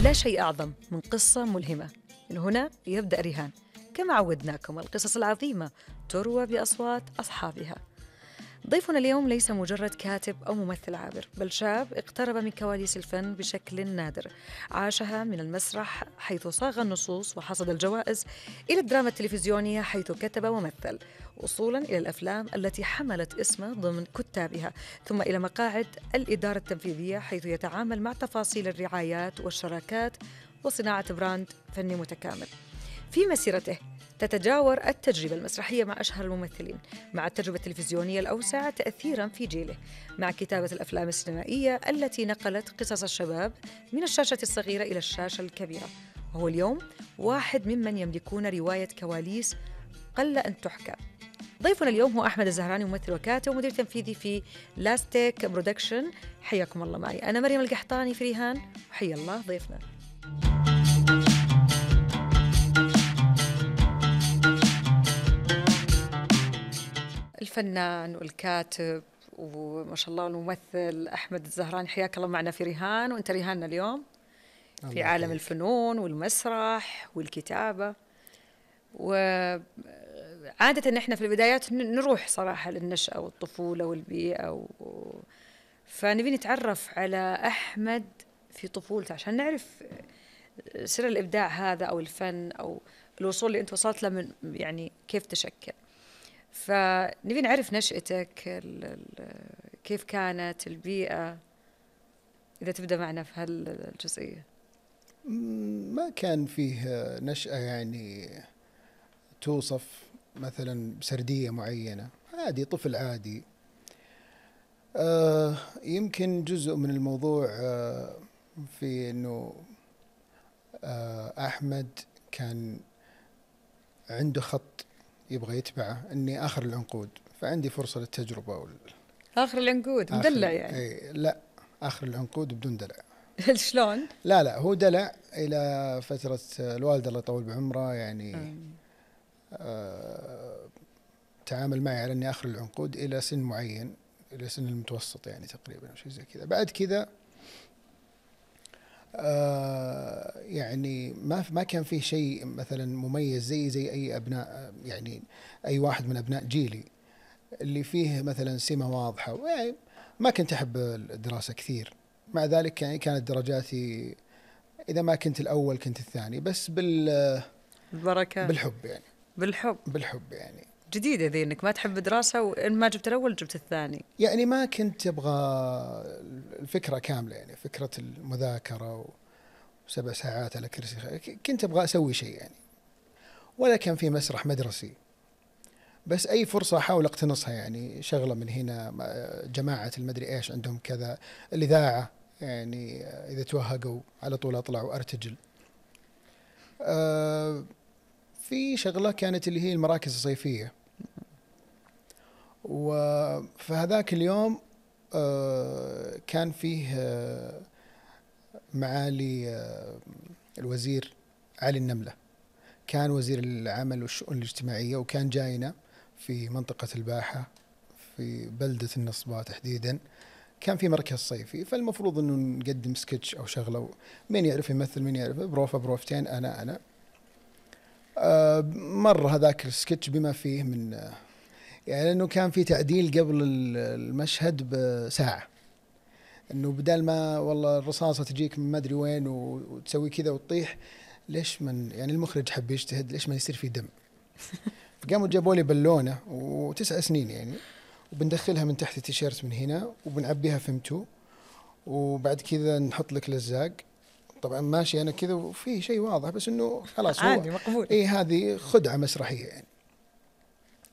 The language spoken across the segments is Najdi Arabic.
لا شيء أعظم من قصة ملهمة. من هنا يبدأ رهان، كما عودناكم القصص العظيمة تروى بأصوات أصحابها. ضيفنا اليوم ليس مجرد كاتب أو ممثل عابر، بل شاب اقترب من كواليس الفن بشكل نادر، عاشها من المسرح حيث صاغ النصوص وحصد الجوائز، إلى الدراما التلفزيونية حيث كتب ومثل، وصولاً إلى الأفلام التي حملت اسمه ضمن كتابها، ثم إلى مقاعد الإدارة التنفيذية حيث يتعامل مع تفاصيل الرعايات والشراكات وصناعة براند فني متكامل. في مسيرته تتجاور التجربة المسرحية مع أشهر الممثلين، مع التجربة التلفزيونية الأوسع تأثيراً في جيله، مع كتابة الأفلام السينمائية التي نقلت قصص الشباب من الشاشة الصغيرة إلى الشاشة الكبيرة. وهو اليوم واحد ممن يملكون رواية كواليس قل أن تحكى. ضيفنا اليوم هو أحمد الزهراني، ممثل وكاتب ومدير تنفيذي في لاستيك برودكشن. حياكم الله معي، أنا مريم القحطاني في رهان، وحيا الله ضيفنا. الفنان والكاتب وما شاء الله الممثل أحمد الزهراني، حياك الله معنا في رهان. وأنت رهاننا اليوم في عالم الفنون والمسرح والكتابة. وعادة نحن في البدايات نروح صراحة للنشأة والطفولة والبيئة فنبي نتعرف على أحمد في طفولته عشان نعرف سر الإبداع هذا أو الفن أو الوصول اللي أنت وصلت له من يعني كيف تشكل. فنبي نعرف نشأتك، كيف كانت البيئة، إذا تبدأ معنا في هالجزئية. ما كان فيه نشأة يعني توصف مثلا بسردية معينة، عادي طفل عادي. يمكن جزء من الموضوع في أنه أحمد كان عنده خط يبغى يتبعه، أني آخر العنقود، فعندي فرصة للتجربة. آخر العنقود مدلع يعني؟ لا، آخر العنقود بدون دلع. شلون؟ لا هو دلع إلى فترة الوالدة الله يطول بعمره يعني. تعامل معي على أني آخر العنقود إلى سن معين، إلى سن المتوسط يعني تقريبا أو شيء زي كذا. بعد كذا يعني ما كان فيه شيء مثلا مميز زي أي أبناء، يعني أي واحد من أبناء جيلي اللي فيه مثلا سمة واضحة. يعني ما كنت أحب الدراسة كثير، مع ذلك يعني كانت درجاتي إذا ما كنت الأول كنت الثاني، بس بالبركة، بالحب يعني. بالحب يعني. جديدة ذي إنك ما تحب دراسة وإن ما جبت الأول جبت الثاني. يعني ما كنت أبغى الفكرة كاملة، يعني فكرة المذاكرة و7 ساعات على كرسي، كنت أبغى أسوي شيء يعني. ولا كان في مسرح مدرسي، بس أي فرصة أحاول أقتنصها يعني. شغلة من هنا، جماعة المدري إيش عندهم كذا، الإذاعة يعني إذا توهقوا على طول أطلع وأرتجل. في شغلة كانت اللي هي المراكز الصيفية، وفهذاك اليوم كان فيه معالي الوزير علي النملة، كان وزير العمل والشؤون الاجتماعية، وكان جاينا في منطقة الباحة في بلدة النصباء تحديدا. كان في مركز صيفي، فالمفروض أنه نقدم سكتش أو شغلة، مين يعرف يمثل مين يعرف، بروفتين أنا مر هذاك السكتش بما فيه من يعني، لأنه كان في تعديل قبل المشهد بساعة، أنه بدل ما والله الرصاصة تجيك من ما أدري وين وتسوي كذا وتطيح، ليش من يعني المخرج حب يجتهد، ليش ما يصير في دم. فقاموا جابوا لي بالونة و9 سنين يعني، وبندخلها من تحت التيشيرت من هنا وبنعبيها فمتو، وبعد كذا نحط لك لزاق. طبعا ماشي أنا كذا وفي شيء واضح، بس إنه خلاص عادي مقبول. هذه خدعة مسرحية يعني.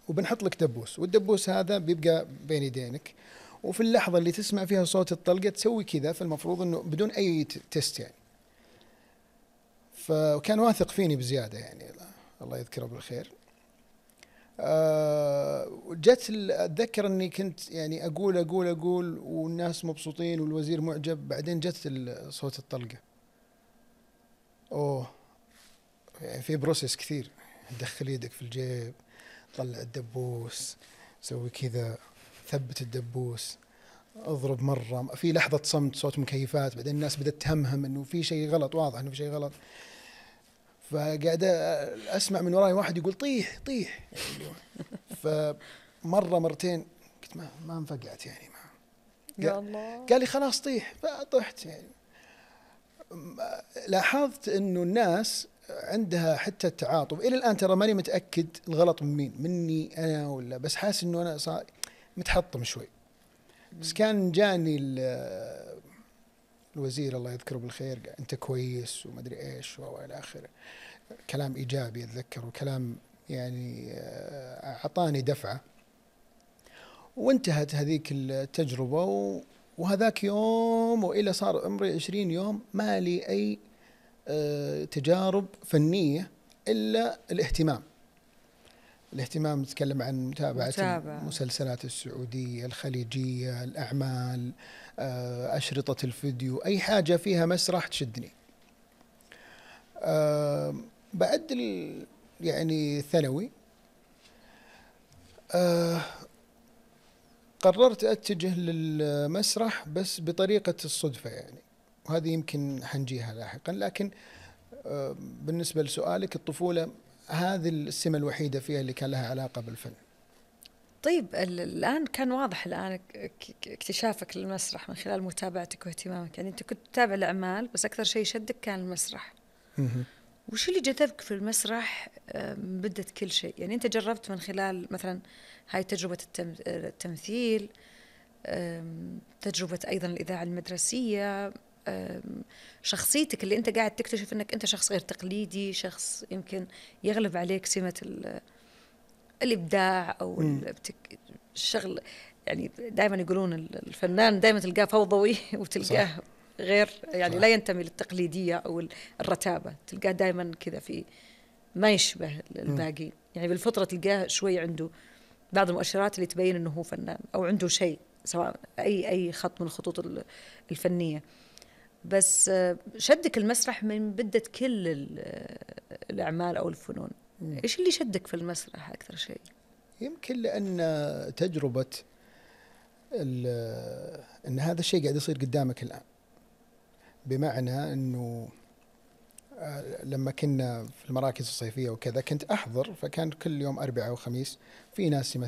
وبنحط لك دبوس، والدبوس هذا بيبقى بين يدينك، وفي اللحظة اللي تسمع فيها صوت الطلقة تسوي كذا، فالمفروض إنه بدون أي تيست يعني. فكان واثق فيني بزيادة يعني، الله يذكره بالخير. جت أتذكر أني كنت يعني أقول والناس مبسوطين والوزير معجب، بعدين جت صوت الطلقة. يعني في بروسيس كثير، دخل يدك في الجيب، طلع الدبوس، سوي كذا، ثبت الدبوس، اضرب مرة، في لحظة صمت، صوت مكيفات، بعدين الناس بدأت تهمهم انه في شيء غلط، واضح انه في شيء غلط. فقاعد اسمع من وراي واحد يقول طيح طيح فمرة مرتين قلت ما انفقعت يعني، ما يا الله. قال لي خلاص طيح، فطحت يعني. لاحظت انه الناس عندها حتى التعاطف الى الان، ترى ماني متاكد الغلط من مين، مني انا ولا، بس حاسس انه انا صار متحطم شوي. بس كان جاني الوزير الله يذكره بالخير، قال انت كويس وما ادري ايش والى اخره، كلام ايجابي اتذكر، وكلام يعني اعطاني دفعه. وانتهت هذيك التجربه وهذاك يوم والى صار عمري 20 يوم ما لي اي تجارب فنيه الا الاهتمام. نتكلم عن متابعة المسلسلات السعودية، الخليجية، الأعمال، أشرطة الفيديو، أي حاجة فيها مسرح تشدني. بعد يعني ثانوي قررت أتجه للمسرح بس بطريقة الصدفة يعني، وهذه يمكن حنجيها لاحقا. لكن بالنسبة لسؤالك، الطفولة هذه السمة الوحيدة فيها اللي كان لها علاقة بالفن. طيب الآن كان واضح الآن اكتشافك للمسرح من خلال متابعتك واهتمامك، يعني أنت كنت تتابع الأعمال بس أكثر شيء شدك كان المسرح. وش اللي جذبك في المسرح بدت كل شيء؟ يعني أنت جربت من خلال مثلا هاي تجربة التمثيل، تجربة أيضا الإذاعة المدرسية، شخصيتك اللي أنت قاعد تكتشف أنك أنت شخص غير تقليدي، شخص يمكن يغلب عليك سمة الإبداع أو الشغل. يعني دائما يقولون الفنان دائما تلقاه فوضوي وتلقاه غير يعني صح. لا ينتمي للتقليدية أو الرتابة، تلقاه دائما كذا في ما يشبه الباقي. يعني بالفطرة تلقاه شوي عنده بعض المؤشرات اللي تبين أنه هو فنان أو عنده شيء، سواء أي خط من الخطوط الفنية. بس شدك المسرح من بدت كل الأعمال أو الفنون. إيش اللي شدك في المسرح أكثر شيء؟ يمكن لأن تجربة أن هذا الشيء قاعد يصير قدامك الآن، بمعنى أنه لما كنا في المراكز الصيفية وكذا كنت أحضر، فكان كل يوم أربعاء وخميس في ناس يمثلون